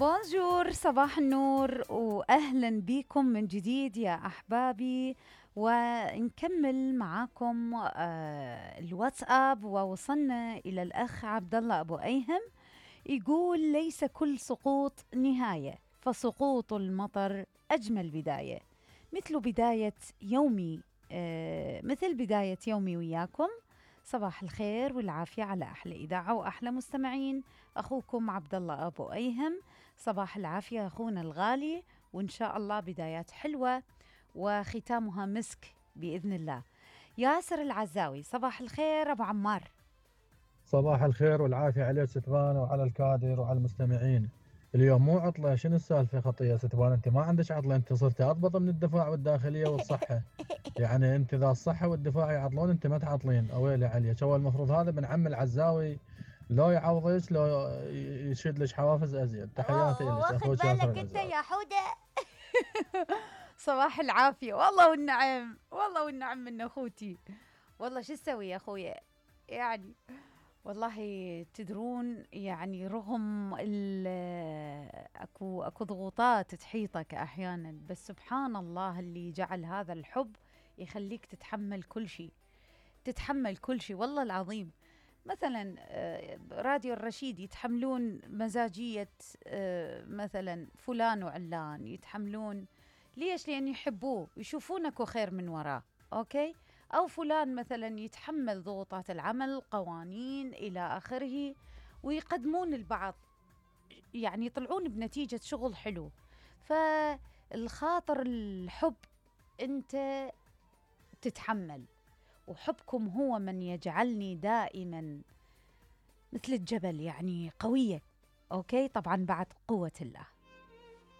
بونجور، صباح النور وأهلا بكم من جديد يا أحبابي. ونكمل معاكم الواتساب، ووصلنا إلى الأخ عبد الله أبو أيهم يقول: ليس كل سقوط نهاية، فسقوط المطر أجمل بداية، مثل بداية يومي وياكم. صباح الخير والعافية على أحلى إذاعة وأحلى مستمعين. أخوكم عبد الله أبو أيهم. صباح العافية أخونا الغالي، وإن شاء الله بدايات حلوة وختامها مسك بإذن الله. ياسر العزاوي: صباح الخير أبو عمار. صباح الخير والعافية عليك ستبان وعلى الكادر وعلى المستمعين. اليوم مو عطلة، شنو السالفة خطية ستبان؟ انت ما عندك عطلة، انت صرت اضبط من الدفاع والداخلية والصحة. يعني انت ذا الصحة والدفاع يعطلون، انت ما تعطلين. اويلي عليك. هو المفروض هذا بن عم العزاوي لو يعوضك لو يشد لك حوافز ازيد. تحياتي لك واخد اخوك ياسر بالك انت العزاوي. يا حودة. صباح العافية، والله والنعم، والله والنعم من اخوتي. والله شو تسوي يا اخويا يعني. والله تدرون يعني رغم اكو ضغوطات تحيطك احيانا، بس سبحان الله اللي جعل هذا الحب يخليك تتحمل كل شيء، تتحمل كل شيء والله العظيم. مثلا راديو الرشيد يتحملون مزاجية مثلا فلان وعلان، يتحملون ليش؟ لأن يحبوه، يشوفونك خير من وراه. أوكي؟ أو فلان مثلا يتحمل ضغوطات العمل، قوانين إلى آخره، ويقدمون البعض، يعني يطلعون بنتيجة شغل حلو. فالخاطر الحب أنت تتحمل، وحبكم هو من يجعلني دائما مثل الجبل، يعني قوية. أوكي؟ طبعا بعد قوة الله.